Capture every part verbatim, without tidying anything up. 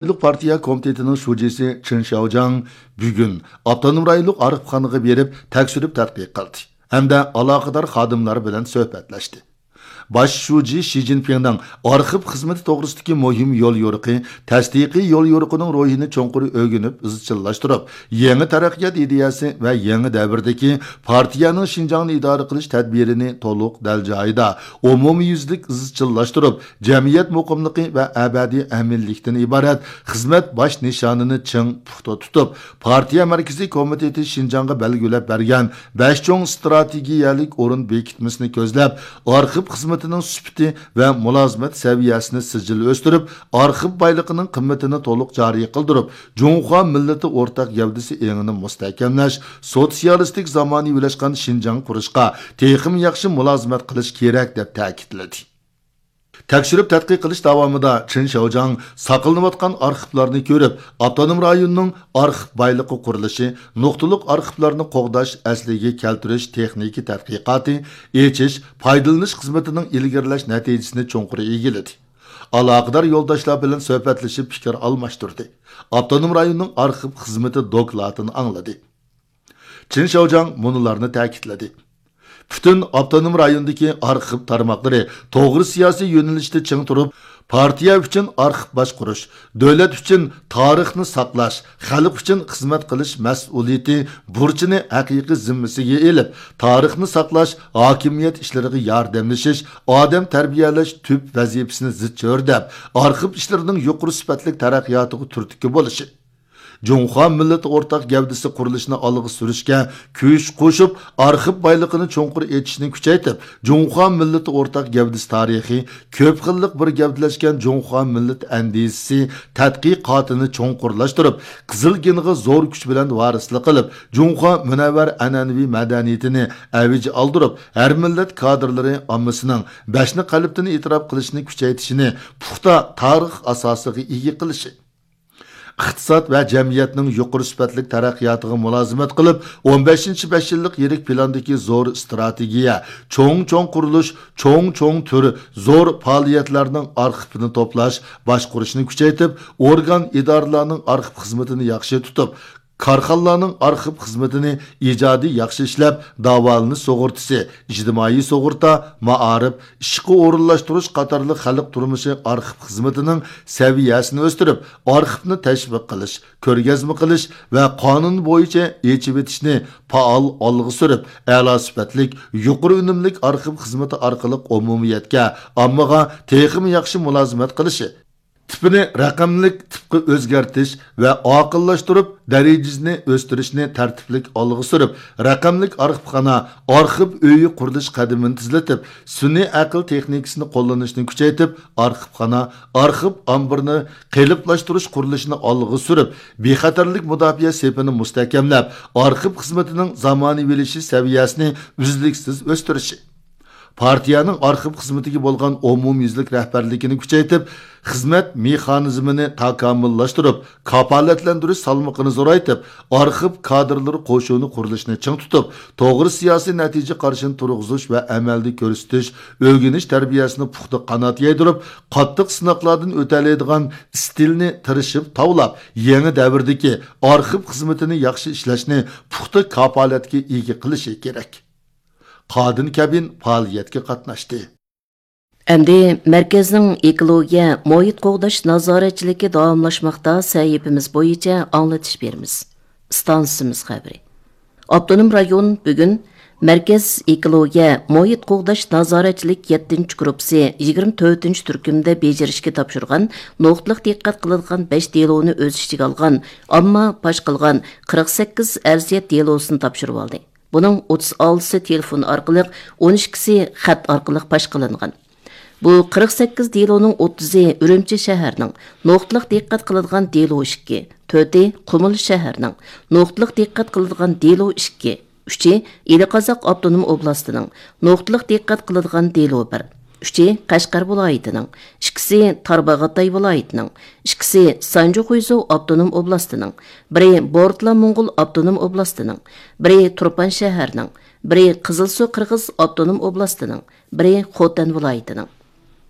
رايونلۇق پارتىيە كومىتېتىنىڭ شۇجىسى چېن شياۋجياڭ بۈگۈن ئاپتونوم رايونلۇق ئارخىپخانىغا بېرىپ، تەكشۈرۈپ تەتقىق قىلدى ھەمدە ئالاقىدار خادىملار بىلەن سۆھبەتلەشتى. باش شۇجى شى جىنپىڭنىڭ ئارخىپ خىزمىتى توغرىسىدىكى مۇھىم يوليورۇقى، تەستىقىي يوليورۇقىنىڭ روھىنى چوڭقۇر ئۆگىنىپ ئىزچىللاشتۇرۇپ، يېڭى تەرەققىيات ئىدىيەسى ۋە يېڭى دەۋردىكى پارتىيەنىڭ شىنجاڭنى ئىدارە قىلىش تەدبىرىنى تولۇق دەل جايىدا، ئومۇميۈزلۈك ئىزچىللاشتۇرۇپ، جەمئىيەت مۇقىملىقى ۋە ئەبەدىي ئەمىنلىكتىن ئىبارەت خىزمەت باش نىشانىنى چىڭ پۇختا تۇتۇپ، پارتىيە مەركىزىي كومىتېتى شىنجاڭغا بەلگىلەپ بەرگەن بەش چوڭ ئىستراتېگىيەلىك ئورۇن بېكىتمىسىنى كۆزلەپ، ئارخىپ خىزمىتىنىڭ سۈپىتى ۋە مۇلازىمەت سەۋىيەسىنى سىجىل ئۆستۈرۈپ، ئارخىپ بايلىقىنىڭ قىممىتىنى تولۇق جارى قىلدۇرۇپ، جۇڭخۇا مىللىتى ئورتاق گەۋدىسى ئېڭىنى مۇستەھكەملەش، سوتسىيالىستىك زامانىۋىلاشقان شىنجاڭ قۇرۇشقا تېخىمۇ ياخشى مۇلازىمەت قىلىش كېرەك، دەپ تەكىتلىدى. تەكشۈرۈپ تەتقىق قىلىش داۋامىدا چېن شياۋجياڭ ساقلىنىۋاتقان ئارخىپلارنى كۆرۈپ، ئاپتونوم رايوننىڭ ئارخىپ بايلىقى قۇرۇلۇشى، نۇقتىلىق ئارخىپلارنى قوغداش، ئەسلىگە كەلتۈرۈش تېخنىكا تەتقىقاتى، ئېچىش، پايدىلىنىش خىزمىتىنىڭ ئىلگىرىلەش نەتىجىسىنى چوڭقۇر ئىگىلىدى. ئالاقىدار يولداشلار بىلەن سۆھبەتلىشىپ پىكىر ئالماشتۇردى. ئاپتونوم رايوننىڭ ئارخىپ خىزمىتى دوكلاتىنى ئاڭلىدى. چېن شياۋجياڭ مۇنۇلارنى تەكىتلىدى. پۈتۈن ئاپتونوم رايوندىكى ئارخىپ تارماقلىرى توغرا سىياسىي يۆنىلىشتە چىڭ تۇرۇپ، پارتىيە ئۈچۈن ئارخىپ باشقۇرۇش، دۆلەت ئۈچۈن تارىخنى ساقلاش، خەلق ئۈچۈن خىزمەت قىلىش مەسئۇلىيىتى بۇرچىنى ھەقىقىي زىممىسىگە ئېلىپ، تارىخنى ساقلاش، ھاكىمىيەت ئىشلىرىغا ياردەملىشىش، ئادەم تەربىيەلەش تۈپ ۋەزىپىسىنى زىچ ھۆرلەپ، ئارخىپ ئىشلىرىنىڭ يۇقىرى سۈپەتلىك تەرەققىياتىغا تۈرتكە بولۇشى، جۇڭخۇا مىللىتى ئورتاق گەۋدىسى قۇرۇلۇشىنى ئالغا سۈرۈشكە كۈچ قوشۇپ، ئارخىپ بايلىقىنى چوڭقۇر ئېچىشنى كۈچەيتىپ، جۇڭخۇا مىللىتى ئورتاق گەۋدىسى تارىخى، كۆپ خىللىق بىر گەۋدىلەشكەن جۇڭخۇا مىللىتى ئەندىزىسى، تەتقىقاتىنى چوڭقۇرلاشتۇرۇپ، قىزىل گېنغا زور كۈچ بىلەن ۋارىسلىق قىلىپ، جۇڭخۇا مۇنەۋۋەر ئەنئەنىۋى مەدەنىيىتىنى ئەۋج ئالدۇرۇپ، ھەر مىللەت كادىرلىرى ئاممىسىنىڭ بەشنى قەلبتىن ئېتىراپ قىلىشىنى كۈچەيتىشىنى پۇختا تارىخ ئاساسىغا ئىگە قىلىشى، ئىقتىساد ۋە جەمئىيەتنىڭ يۇقىرى سۈپەتلىك تەرەققىياتىغا مۇلازىمەت قىلىپ، ئون بەشىنچى بەش يىللىق يىرىك پىلاندىكى زور ئىستراتېگىيە، چوڭ-چوڭ قۇرۇلۇش، چوڭ-چوڭ تۈر زور پائالىيەتلەرنىڭ ئارخىپىنى توپلاش، باشقۇرۇشنى كۈچەيتىپ، ئورگان، ئىدارىلەرنىڭ ئارخىپ خىزمىتىنى ياخشى تۇتۇپ، كارخانىلارنىڭ ئارخىپ خىزمىتىنى ئىجادىي ياخشى ئىشلەپ، داۋالىنىش سۇغۇرتىسى، ئىجتىمائىي سۇغۇرتا، مائارىپ، ئىشقا ئورۇنلاشتۇرۇش قاتارلىق خەلق تۇرمۇشى ئارخىپ خىزمىتىنىڭ سەۋىيەسىنى ئۆستۈرۈپ، ئارخىپنى تەشۋىق قىلىش، كۆرگەزمە قىلىش ۋە قانۇن بويىچە ئېچىۋېتىشنى پائال ئالغا سۈرۈپ، ئەلا سۈپەتلىك، يۇقىرى ئۈنۈملۈك ئارخىپ خىزمىتى ئارقىلىق ئومۇمىيەتكە، ئاممىغا تېخىمۇ ياخشى مۇلازىمەت قىلىشى، تىپىنى رەقەملىك تىپقا ئۆزگەرتىش ۋە ئاقىللاشتۇرۇپ، دەرىجىسىنى ئۆستۈرۈشنى تەرتىپلىك ئالغا سۈرۈپ، رەقەملىك ئارخىپخانا، ئارخىپ ئۆيى قۇرۇلۇش قەدىمىنى تېزلىتىپ، سۈنئىي ئەقىل تېخنىكىسىنى قوللىنىشنى كۈچەيتىپ، ئارخىپخانا، ئارخىپ ئامبىرىنى قېلىپلاشتۇرۇش قۇرۇلۇشىنى ئالغا سۈرۈپ، بىخەتەرلىك مۇداپىئە سېپىنى مۇستەھكەملەپ، ئارخىپ خىزمىتىنىڭ زامانىۋىلىشىش سەۋىيەسىنى ئۈزلۈكسىز ئۆستۈرۈشى. پارتىيەنىڭ ئارخىپ خىزمىتىگە بولغان ئومۇميۈزلۈك رەھبەرلىكىنى كۈچەيتىپ، خىزمەت مېخانىزمىنى تاكامۇللاشتۇرۇپ، كاپالەتلەندۈرۈش سالمىقىنى زورايتىپ، ئارخىپ كادىرلىرى قوشۇنى قۇرۇلۇشىنى چىڭ تۇتۇپ، توغرا سىياسىي نەتىجە قارىشىنى تۇرغۇزۇش ۋە ئەمەلدە كۆرسىتىش، ئۆگىنىش تەربىيەسىنى پۇختا قانات يايدۇرۇپ، قاتتىق سىناقلاردىن ئۆتەلەيدىغان ئىستىلنى تىرىشىپ تاۋلاپ، يېڭى دەۋردىكى ئارخىپ خىزمىتىنى ياخشى ئىشلەشنى پۇختا كاپالەتكە ئىگە قىلىشى كېرەك. قادىن كەبىن پائالىيەتكە قاتناشتى. ئەمدى مەركەزنىڭ ئېكولوگىيە، مۇھىت قوغداش نازارەتچىلىكى داۋاملاشماقتا سەھىپىمىز بويىچە ئاڭلىتىش بېرىمىز. ئىستانسىمىز خەۋىرى. ئاپتونوم رايون بۈگۈن مەركەز ئېكولوگىيە، مۇھىت قوغداش نازارەتچىلىك يەتتىنچى گۇرۇپپىسى يىگىرمە تۆتىنچى تۈركۈمدە بېجىرىشكە تاپشۇرغان نۇقتىلىق دىققەت قىلىدىغان بەش دېلونى ئۆز ئىچىگە ئالغان ئامما پاش قىلغان قىرىق سەككىز ئەرزىيەت دېلوسىنى تاپشۇرۇۋالدى. بۇنىڭ ئوتتۇز ئالتىسى تېلېفون ئارقىلىق، ئون ئىككىسى خەت ئارقىلىق پاش قىلىنغان. بۇ قىرىق سەككىز دېلونىڭ ئوتتۇزى ئۈرۈمچى شەھەرنىڭ، نۇقتىلىق دىققەت قىلىدىغان دېلو ئىككى، تۆتى قۇمۇل شەھەرنىڭ، نۇقتىلىق دىققەت قىلىدىغان دېلو ئىككى، ئۈچى ئىلى قازاق ئاپتونوم ئوبلاستىنىڭ، نۇقتىلىق دىققەت قىلىدىغان دېلو بىر، ئۈچى قەشقەر ۋىلايىتىنىڭ، ئىككىسى تارباغاتاي ۋىلايىتىنىڭ، ئىككىسى سانجى خۇيزۇ ئاپتونوم ئوبلاستىنىڭ، بىرى بورتلا موڭغۇل ئاپتونوم ئوبلاستىنىڭ، بىرى تۇرپان شەھەرنىڭ، بىرى قىزىلسۇ قىرغىز ئاپتونوم ئوبلاستىنىڭ، بىرى خوتەن ۋىلايىتىنىڭ.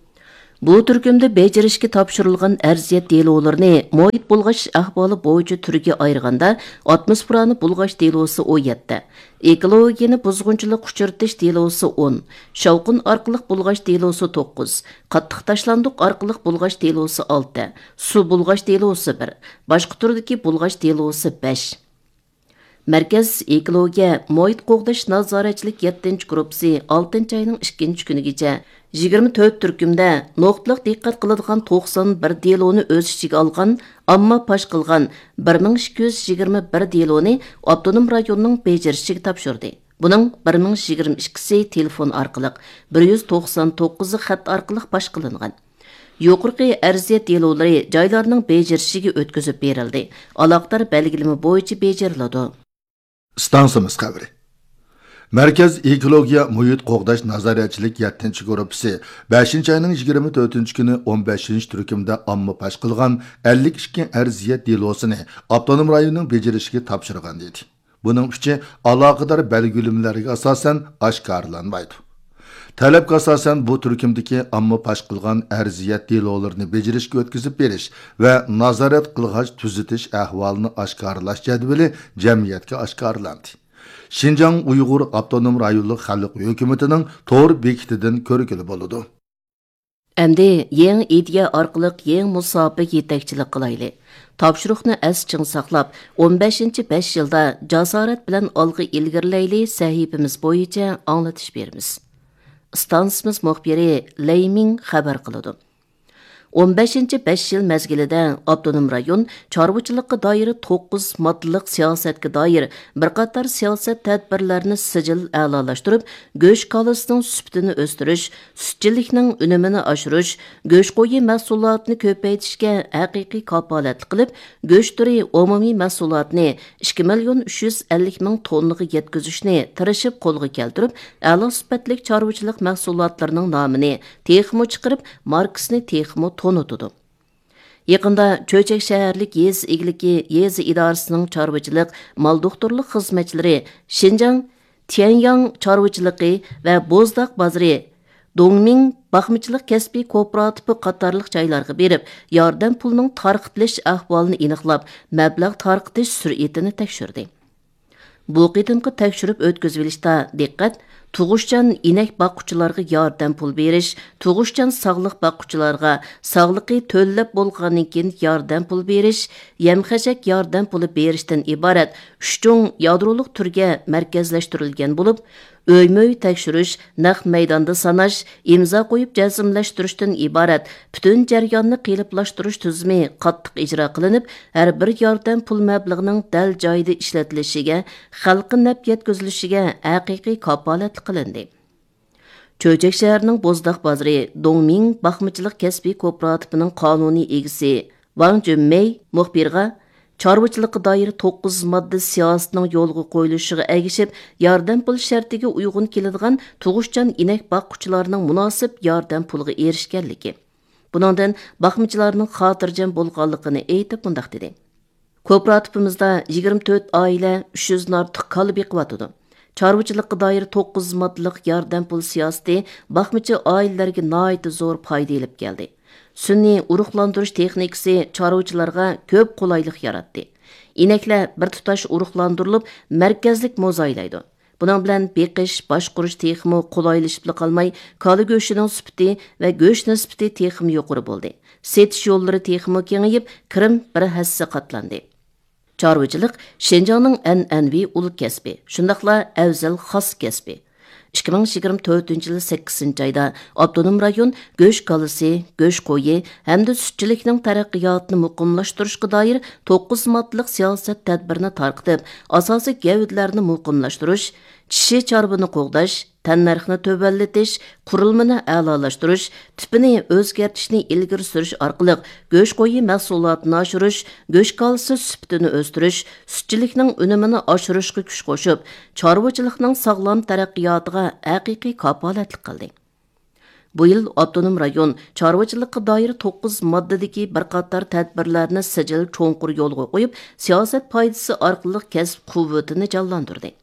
بۇ تۈركۈمدە بېجىرىشكە تاپشۇرۇلغان ئەرزىيەت دېلولىرىنى مۇھىت بۇلغاش ئەھۋالى بويىچە تۈرگە ئايرىغاندا، ئاتموسفېرانى بۇلغاش دېلوسى ئون يەتتە، ئېكولوگىيەنى بۇزغۇنچىلىققا ئۇچرىتىش دېلوسى ئون، شاۋقۇن ئارقىلىق بۇلغاش دېلوسى توققۇز، قاتتىق تاشلاندۇق ئارقىلىق بۇلغاش دېلوسى ئالتە، سۇ بۇلغاش دېلوسى بىر، باشقا تۈردىكى بۇلغاش دېلوسى بەش. مەركەز ئېكولوگىيە مۇھىت قوغداش نازارەتچىلىك يەتتىنچى گۇرۇپپىسى ئالتىنچى ئاينىڭ ئىككىنچى كۈنىگىچە يىگىرمە تۆت تۈركۈمدە نۇقتىلىق دىققەت قىلىدىغان توقسان بىر دېلونى ئۆز ئىچىگە ئالغان، ئامما پاش قىلغان بىر مىڭ ئىككى يۈز يىگىرمە بىر دېلونى ئاپتونوم رايوننىڭ بېجىرىشىگە تاپشۇردى. بۇنىڭ بىر مىڭ يىگىرمە ئىككىسى تېلېفون ئارقىلىق، بىر يۈز توقسان توققۇزى خەت ئارقىلىق پاش قىلىنغان. يۇقىرىقى ئەرزىيەت دېلولىرى جايلارنىڭ بېجىرىشىگە ئۆتكۈزۈپ بېرىلدى، ئالاقىدار بەلگىلىمە بويىچە بېجىرىلىدۇ. ئىستانسىمىز خەۋىرى. مەركەز ئېكولوگىيە مۇھىت قوغداش نازارەتچىلىك يەتتىنچى گۇرۇپپىسى بەشىنچى ئاينىڭ يىگىرمە تۆتىنچى كۈنى ئون بەشىنچى تۈركۈمدە ئامما پاش قىلغان ئەللىك ئىككى ئەرزىيەت دېلوسىنى ئاپتونوم رايوننىڭ بېجىرىشىگە تاپشۇرغان ئىدى. بۇنىڭ ئۈچى ئالاقىدار بەلگىلىمىلەرگە ئاساسەن ئاشكارىلانمايدۇ. تەلەپكە ئاساسەن، بۇ تۈركۈمدىكى ئامما پاش قىلغان ئەرزىيەت دېلولىرىنى بېجىرىشكە ئۆتكۈزۈپ بېرىش ۋە نازارەت قىلغاچ تۈزىتىش ئەھۋالىنى ئاشكارىلاش جەدۋىلى جەمئىيەتكە ئاشكارىلاندى. شىنجاڭ ئۇيغۇر ئاپتونوم رايونلۇق خەلق ھۆكۈمىتىنىڭ تور بېكىتىدىن كۆرگىلى بولىدۇ. ئەمدى يېڭى ئىدىيە ئارقىلىق يېڭى مۇساپىگە يېتەكچىلىك قىلايلى. تاپشۇرۇقنى ئەستە چىڭ ساقلاپ، ئون بەشىنچى بەش يىلدا جاسارەت بىلەن ئالغا ئىلگىرىلەيلى سەھىپىمىز بويىچە ئاڭلىتىش بېرىمىز. ئىستانسىمىز مۇخبىرى لەي مىڭ خەۋەر قىلىدۇ. ئون بەشىنچى بەش يىل مەزگىلىدە ئاپتونوم رايون چارۋىچىلىققا دائىر توققۇز ماددىلىق سىياسەتكە دائىر بىر قاتار سىياسەت تەدبىرلەرنى سىجىل ئەلالاشتۇرۇپ، گۆش كالىسىنىڭ سۈپىتىنى ئۆستۈرۈش، سۈتچىلىكنىڭ ئۈنۈمىنى ئاشۇرۇش، گۆش قويى مەھسۇلاتىنى كۆپەيتىشكە ھەقىقىي كاپالەتلىك قىلىپ، گۆش تۈرى ئومۇمىي مەھسۇلاتىنى ئىككى مىليون ئۈچ يۈز ئەللىك مىڭ توننىغا يەتكۈزۈشنى تىرىشىپ قولغا كەلتۈرۈپ، ئەلا سۈپەتلىك چارۋىچىلىق مەھسۇلاتلىرىنىڭ نامىنى تېخىمۇ چىقىرىپ، ماركىسىنى تېخىمۇ تونۇتىدۇ. يېقىندا چۆچەك شەھەرلىك يېزا ئىگىلىكى يېزا ئىدارىسىنىڭ چارۋىچىلىق، مال دوختۇرلۇق خىزمەتچىلىرى شىنجاڭ تيەنياڭ چارۋىچىلىقى ۋە بوزداق بازىرى، دۇڭمىڭ باقمىچىلىق كەسپىي كوپىراتىپى قاتارلىق جايلارغا بېرىپ، ياردەم پۇلىنىڭ تارقىتىلىش ئەھۋالىنى ئېنىقلاپ، مەبلەغ تارقىتىش سۈرئىتىنى تەكشۈردى. بۇ قېتىمقى تەكشۈرۈپ ئۆتكۈزۈۋېلىشتا دىققەت تۇغۇشچان ئىنەك باققۇچىلارغا ياردەم پۇل بېرىش، تۇغۇشچان ساغلىق باققۇچىلارغا ساغلىقى تۆلەپ بولغاندىن كېيىن ياردەم پۇل بېرىش، يەم-خەشەك ياردەم پۇلى بېرىشتىن ئىبارەت ئۈچ چوڭ يادرولۇق تۈرگە مەركەزلەشتۈرۈلگەن بولۇپ، ئۆيمۇ ئۆي تەكشۈرۈش، نەق مەيداندا ساناش، ئىمزا قويۇپ جەزملەشتۈرۈشتىن ئىبارەت پۈتۈن جەرياننى قېلىپلاشتۇرۇش تۈزۈمى قاتتىق ئىجرا قىلىنىپ، ھەر بىر ياردەم پۇل مەبلىغىنىڭ دەل جايىدا ئىشلىتىلىشىگە، خەلققە نەپ يەتكۈزۈلۈشىگە ھەقىقىي كاپالەتلىك قىلىندى. چۆچەك شەھىرىنىڭ بوزداق بازىرى دۇڭمىڭ باقمىچىلىق كەسپىي كوپىراتىپىنىڭ قانۇنىي ئىگىسى ۋاڭ جۈنمېي مۇخبىرغا، چارۋىچىلىققا دائىر توققۇز ماددا سىياسىتىنىڭ يولغا قويۇلۇشىغا ئەگىشىپ، ياردەم پۇل شەرتىگە ئۇيغۇن كېلىدىغان تۇغۇشچان ئىنەك باققۇچىلارنىڭ مۇناسىپ ياردەم پۇلىغا ئېرىشكەنلىكى، بۇنىڭدىن باقمىچىلارنىڭ خاتىرجەم بولغانلىقىنى ئېيتىپ، مۇنداق دېدى. كوپىراتىپىمىزدا يىگىرمە تۆت ئائىلە ئۈچ يۈزدىن ئارتۇق كالا بېقىۋاتىدۇ. چارۋىچىلىققا دائىر توققۇز ماددىلىق ياردەم پۇل سىياسىتى باقمىچى ئائىلىلەرگە ناھايىتى زور پايدا ئېلىپ كەلدى. سۈنئىي ئۇرۇقلاندۇرۇش تېخنىكىسى چارۋىچىلارغا كۆپ قولايلىق ياراتتى. ئىنەكلەر بىر تۇتاش ئۇرۇقلاندۇرۇلۇپ، مەركەزلىك موزايلايدۇ. بۇنىڭ بىلەن بېقىش، باشقۇرۇش تېخىمۇ قولايلىشىپلا قالماي، كالا گۆشىنىڭ سۈپىتى ۋە گۆش نىسبىتى تېخىمۇ يۇقىرى بولدى. سېتىش يوللىرى تېخىمۇ كېڭىيىپ، كىرىم بىر ھەسسە قاتلاندى. چارۋىچىلىق شىنجاڭنىڭ ئەنئەنىۋى ئۇل كەسپى، شۇنداقلا ئەۋزەل خاس كەسپى. ئىككى مىڭ يىگىرمە تۆتىنچى يىل سەككىزىنچى ئايدا ئاپتونوم رايون گۆش كالىسى، گۆش قويى ھەمدە سۈتچىلىكنىڭ تەرەققىياتىنى مۇقىملاشتۇرۇشقا دائىر توققۇز ماددىلىق سىياسەت تەدبىرىنى تارقىتىپ، ئاساسىي گەۋدىلەرنى مۇقىملاشتۇرۇش، چىشى چارۋىنى قوغداش، تەننەرخنى تۆۋەنلىتىش، قۇرۇلمىنى ئەلالاشتۇرۇش، تىپىنى ئۆزگەرتىشنى ئىلگىرى سۈرۈش ئارقىلىق گۆش قويى مەھسۇلاتىنى ئاشۇرۇش، گۆش كالىسى سۈپىتىنى ئۆستۈرۈش، سۈتچىلىكنىڭ ئۈنۈمىنى ئاشۇرۇشقا كۈچ قوشۇپ، چارۋىچىلىقنىڭ ساغلام تەرەققىياتىغا ھەقىقىي كاپالەتلىك قىلدى. بۇ يىل ئاپتونوم رايون چارۋىچىلىققا دائىر توققۇز ماددىدىكى بىر قاتار تەدبىرلەرنى سىجىل چوڭقۇر يولغا قويۇپ، سىياسەت پايدىسى ئارقىلىق كەسىپ قۇۋۋىتىنى جانلاندۇردى.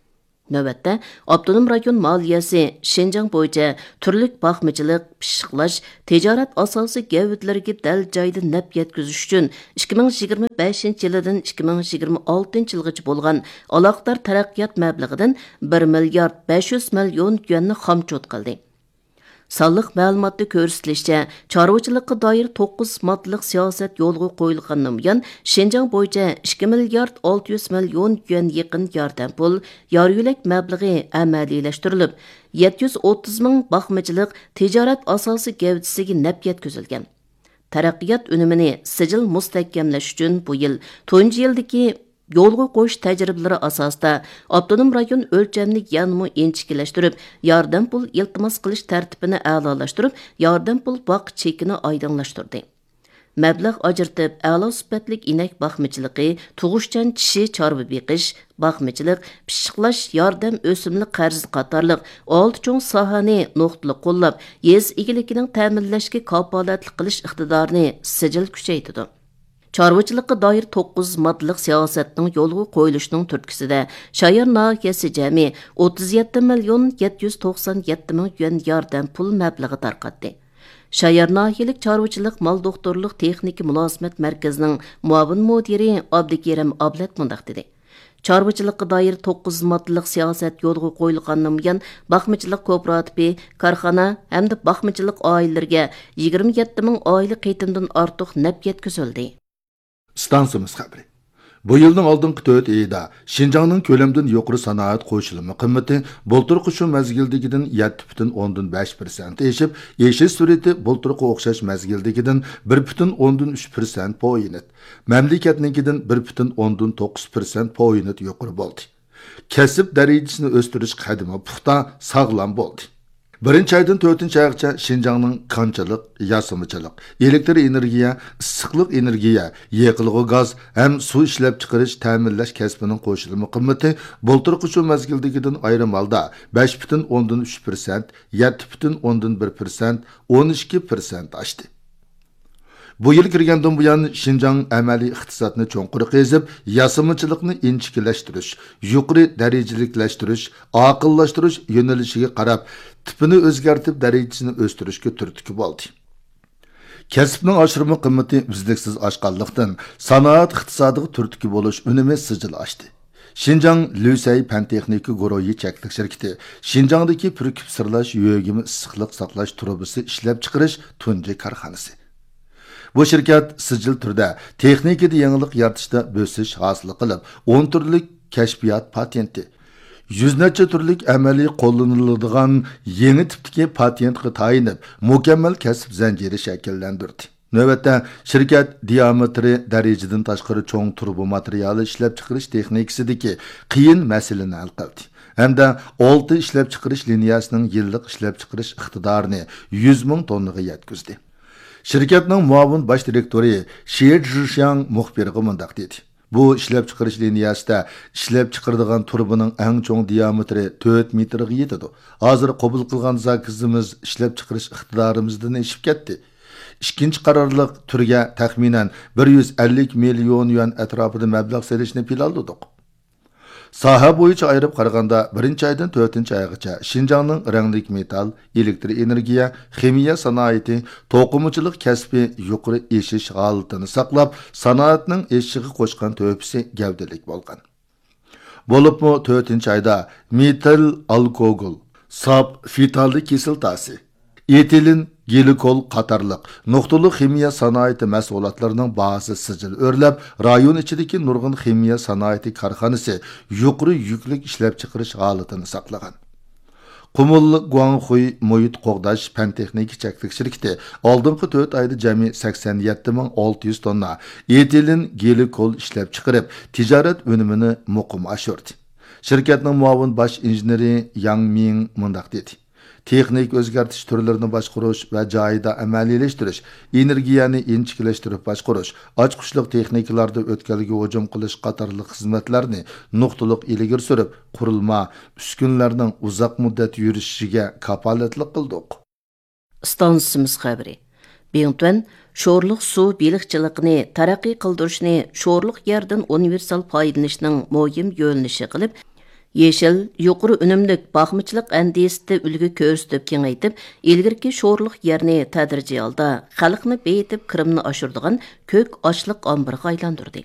نۆۋەتتە، ئاپتونوم رايون مالىيەسى شىنجاڭ بويىچە تۈرلۈك باقمىچىلىق، پىششىقلاش، تىجارەت ئاساسىي گەۋدىلىرىگە دەل جايىدا نەپ يەتكۈزۈش ئۈچۈن ئىككى مىڭ يىگىرمە بەشىنچى يىلىدىن ئىككى مىڭ يىگىرمە ئالتىنچى يىلغىچە بولغان ئالاقىدار تەرەققىيات مەبلىغىدىن بىر مىليارد بەش يۈز مىليون يۈەننى خامچوت قىلدى. سانلىق مەلۇماتتا كۆرسىتىلىشىچە، چارۋىچىلىققا دائىر توققۇز ماددىلىق سىياسەت يولغا قويۇلغاندىن بۇيان، شىنجاڭ بويىچە ئىككى مىليارد ئالتە يۈز مىليون يۈەن يېقىن ياردەم پۇل، يار يۆلەك مەبلىغى ئەمەلىيلەشتۈرۈلۈپ، يەتتە يۈز ئوتتۇز مىڭ باقمىچىلىق تىجارەت ئاساسىي گەۋدىسىگە نەپ يەتكۈزۈلگەن. تەرەققىيات ئۈنۈمىنى سىجىل مۇستەھكەملەش ئۈچۈن بۇ يىل تۇنجى يىلدىكى يولغا قويۇش تەجرىبىلىرى ئاساسىدا، ئاپتونوم رايون ئۆلچەمنى يەنىمۇ ئىنچىكىلەشتۈرۈپ، ياردەم پۇل ئىلتىماس قىلىش تەرتىپىنى ئەلالاشتۇرۇپ، ياردەم پۇل باق چېكىنى ئايدىڭلاشتۇردى. مەبلەغ ئاجرىتىپ، ئەلا سۈپەتلىك ئىنەك باقمىچىلىقى، تۇغۇشچان چىشى چارۋا بېقىش، باقمىچىلىق، پىششىقلاش، ياردەم ئۆسۈملۈك قەرزى قاتارلىق ئالتە چوڭ ساھەنى نۇقتىلىق قوللاپ، يېزا ئىگىلىكىنىڭ تەمىنلەشكە كاپالەتلىك قىلىش ئىقتىدارىنى سىجىل كۈچەيتىدۇ. چارۋىچىلىققا دائىر توققۇز ماددىلىق سىياسەتنىڭ يولغا قويۇلۇشىنىڭ تۈرتكىسىدە، شايار ناھىيەسى جەمئىي ئوتتۇز يەتتە مىليون يەتتە يۈز توقسان يەتتە مىڭ يۈەن ياردەم پۇل مەبلىغى تارقاتتى. شايار ناھىيەلىك چارۋىچىلىق مال دوختۇرلۇق تېخنىكا مۇلازىمەت مەركىزىنىڭ مۇئاۋىن مۇدىرى ئابدۇكېرىم ئابلەت مۇنداق دېدى: چارۋىچىلىققا دائىر توققۇز ماددىلىق سىياسەت يولغا قويۇلغاندىن بۇيان، باقمىچىلىق كوپىراتىپى، كارخانا ھەمدە باقمىچىلىق ئائىلىلىرىگە يىگىرمە يەتتە مىڭ ئائىلە قېتىمدىن ئارتۇق نەپ يەتكۈزۈلدى. ئىستانسىمىز خەۋىرى. بۇ يىلنىڭ ئالدىنقى تۆت ئېيىدا شىنجاڭنىڭ كۆلەمدىن يۇقىرى سانائەت قوشۇلما قىممىتى بۇلتۇرقى شۇ مەزگىلدىكىدىن يەتتە پۈتۈن ئوندىن بەش پىرسەنت ئېشىپ، ئېشىش سۈرئىتى بۇلتۇرقى ئوخشاش مەزگىلدىكىدىن بىر پۈتۈن ئوندىن ئۈچ پىرسەنت پوينت، مەملىكەتنىڭكىدىن بىر پۈتۈن ئوندىن توققۇز پىرسەنت پوينت يۇقىرى بولدى. كەسىپ دەرىجىسىنى ئۆستۈرۈش قەدىمى پۇختا، ساغلام بولدى. بىرىنچى ئايدىن تۆتىنچى ئايغىچە شىنجاڭنىڭ كانچىلىق، ياسىمىچىلىق، ئېلېكتر ئېنېرگىيە، ئىسسىقلىق ئېنېرگىيە، يېقىلغۇ گاز ھەم سۇ ئىشلەپچىقىرىش، تەمىنلەش كەسپىنىڭ قوشۇلما قىممىتى بۇلتۇرقى شۇ مەزگىلدىكىدىن ئايرىم ھالدا بەش پۈتۈن ئوندىن ئۈچ پىرسەنت، يەتتە پۈتۈن ئوندىن بىر پىرسەنت، ئون ئىككى پىرسەنت ئاشتى. بۇ يىل كىرگەندىن بۇيان، شىنجاڭ ئەمەلىي ئىقتىسادنى چوڭقۇر قېزىپ، ياسىمىچىلىقنى ئىنچىكىلەشتۈرۈش، يۇقىرى دەرىجىلىكلەشتۈرۈش، ئاقىللاشتۇرۇش يۆنىلىشىگە قاراپ، تىپىنى ئۆزگەرتىپ، دەرىجىسىنى ئۆستۈرۈشكە تۈرتكە بولدى. كەسىپنىڭ ئاشۇرما قىممىتى ئۈزلۈكسىز ئاشقانلىقتىن، سانائەت ئىقتىسادىغا تۈرتكە بولۇش ئۈنۈمى سىجىل ئاشتى. شىنجاڭ لۈسەي پەن تېخنىكا گۇرۇھى چەكلىك شىركىتى شىنجاڭدىكى پۈركۈپ سىرلاش يۆگىمە ئىسسىقلىق ساقلاش تۇرۇبىسى ئىشلەپچىقىرىش تۇنجى كارخانىسى. بۇ شىركەت سىجىل تۈردە تېخنىكىدا يېڭىلىق يارىتىشتا بۆسۈش ھاسىل قىلىپ، ئون تۈرلۈك كەشپىيات پاتېنتى، يۈز نەچچە تۈرلۈك ئەمەلىي قوللىنىلىدىغان يېڭى تىپتىكى پاتېنتقا تايىنىپ، مۇكەممەل كەسىپ زەنجىرى شەكىللەندۈردى. نۆۋەتتە، شىركەت دىئامېتىرى دەرىجىدىن تاشقىرى چوڭ تۇرۇبا ماتېرىيالى ئىشلەپچىقىرىش تېخنىكىسىدىكى قىيىن مەسىلىنى ھەل قىلدى ھەمدە ئالتە ئىشلەپچىقىرىش لىنىيەسىنىڭ يىللىق ئىشلەپچىقىرىش ئىقتىدارىنى يۈز مىڭ توننىغا يەتكۈزدى. شىركەتنىڭ مۇئاۋىن باش دىرېكتورى شى جىشياڭ مۇخبىرغا مۇنداق دېدى: بۇ ئىشلەپچىقىرىش لىنىيەسىدە ئىشلەپچىقىرىدىغان تۇرۇبىنىڭ ئەڭ چوڭ دىئامېتىرى تۆت مېتىرغا يېتىدۇ. ھازىر قوبۇل قىلغان زاكىزىمىز ئىشلەپچىقىرىش ئىقتىدارىمىزدىن ئېشىپ كەتتى. ئىككىنچى قارارلىق تۈرگە تەخمىنەن بىر يۈز ئەللىك مىليون يۈەن ئەتراپىدا مەبلەغ سېلىشنى پىلانلىدۇق. ساھە بويىچە ئايرىپ قارىغاندا، بىرىنچى ئايدىن تۆتىنچى ئايغىچە شىنجاڭنىڭ رەڭلىك مېتال، ئېلېكتر ئېنېرگىيە، خىمىيە سانائىتى، توقۇمىچىلىق كەسپى يۇقىرى ئېشىش ھالىتىنى ساقلاپ، سانائەتنىڭ ئېشىشىغا قوشقان تۆھپىسى گەۋدىلىك بولغان. بولۇپمۇ تۆتىنچى ئايدا مېتىل ئالكوگول، ساپ فىتالدى كىسلاتاسى، ئېتىلېن گلىكول قاتارلىق نۇقتىلىق خىمىيە سانائىتى مەھسۇلاتلىرىنىڭ باھاسى سىجىل ئۆرلەپ، رايون ئىچىدىكى نۇرغۇن خىمىيە سانائىتى كارخانىسى يۇقىرى يۈكلۈك ئىشلەپچىقىرىش ھالىتىنى ساقلىغان. قۇمۇل گۇاڭخۇي مۇھىت قوغداش پەن تېخنىكا چەكلىك شىركىتى ئالدىنقى تۆت ئايدا جەمئىي سەكسەن يەتتە مىڭ ئالتە يۈز توننا ئېتىلېن گلىكول ئىشلەپچىقىرىپ، تىجارەت ئۈنۈمىنى مۇقىم ئاشۇردى. شىركەتنىڭ مۇئاۋىن باش ئىنژېنېرى ياڭ مىڭ مۇنداق دېدى: تېخنىكا ئۆزگەرتىش تۈرلىرىنى باشقۇرۇش ۋە جايىدا ئەمەلىيلەشتۈرۈش، ئېنېرگىيەنى ئىنچىكىلەشتۈرۈپ باشقۇرۇش، ئاچقۇچلۇق تېخنىكىلاردا ئۆتكەلگە ھۇجۇم قىلىش قاتارلىق خىزمەتلەرنى نۇقتىلىق ئىلگىرى سۈرۈپ، قۇرۇلما، ئۈسكۈنىلەرنىڭ ئۇزاق مۇددەت يۈرۈشۈشىگە كاپالەتلىك قىلدۇق. ئىستانسىمىز خەۋىرى. بىڭتۈەن شورلۇق سۇ بېلىقچىلىقىنى تەرەققىي قىلدۇرۇشنى شورلۇق يەردىن ئۇنىۋېرسال پايدىلىنىشنىڭ مۇھىم يۆنىلىشى قىلىپ، يېشىل، يۇقىرى ئۈنۈملۈك باقمىچىلىق ئەندىزىسىدە ئۈلگە كۆرسىتىپ كېڭەيتىپ، ئىلگىرىكى شورلۇق يەرنى تەدرىجىي ھالدا خەلقنى بېيىتىپ، كىرىمنى ئاشۇرىدىغان كۆك ئاشلىق ئامبىرىغا ئايلاندۇردى.